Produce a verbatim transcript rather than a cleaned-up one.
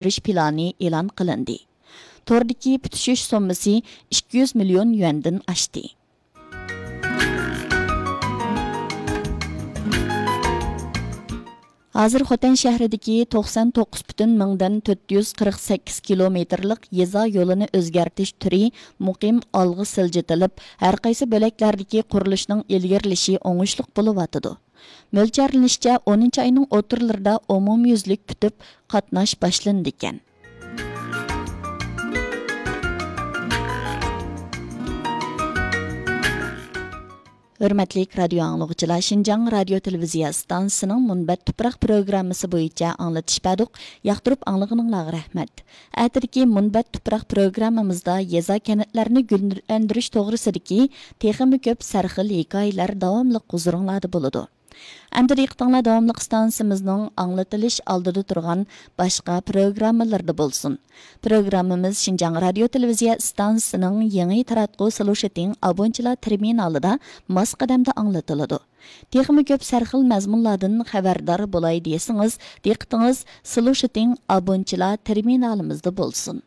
بېرىش پىلانى ئېلان قىلىندى. توردىكى پۈتۈشۈش سوممىسى ئىككى يۈز مىليون يۈەندىن ئاشتى. ھازىر خوتەن شەھىرىدىكى توقسان توققۇز پۈتۈن مىڭدىن تۆت يۈز قىرىق سەككىز كىلومېتىرلىق يېزا يولىنى ئۆزگەرتىش تۈرى مۇقىم ئالغا سىلجىتىلىپ، ھەرقايسى بۆلەكلەردىكى قۇرۇلۇشنىڭ ئىلگىرىلىشى ئوڭۇشلۇق بولۇۋاتىدۇ. مۆلچەرلىنىشىچە، ئونىنچى ئاينىڭ ئوتتۇرىلىرىدا ئومۇميۈزلۈك پۈتۈپ، قاتناش باشلىنىدىكەن. ھۆرمەتلىك رادىيو ئاڭلىغۇچىلار، شىنجاڭ رادىيو تېلېۋىزىيە ئىستانسىسىنىڭ مۇنبەت تۇپراق پروگراممىسى بويىچە ئاڭلىتىش بەردۇق. ياقتۇرۇپ ئاڭلىغىنىڭلارغا رەھمەت. ئەتىدىكى مۇنبەت تۇپراق پروگراممىمىزدا يېزا، كەنتلەرنى گۈللەندۈرۈش توغرىسىدىكى تېخىمۇ كۆپ سەرخىل ھېكايىلەر داۋاملىق ھۇزۇرۇڭلاردا بولىدۇ. ئەمدى دىققىتىڭلار داۋاملىق ئىستانسىمىزنىڭ ئاڭلىتىلىش ئالدىدا تۇرغان باشقا پروگراممىلىرىدا بولسۇن. پروگراممىمىز شىنجاڭ رادىيو تېلېۋىزىيە ئىستانسىسىنىڭ يېڭى تاراتقۇ سلوشىتىڭ ئابونچىلار تېرمىنالىدا ماس قەدەمدە ئاڭلىتىلىدۇ. تېخىمۇ كۆپ سەرخىل مەزمۇنلاردىن خەۋەردار بولاي دېسىڭىز، دىققىتىڭىز سلوشىتىڭ ئابونچىلار تېرمىنالىمىزدا بولسۇن.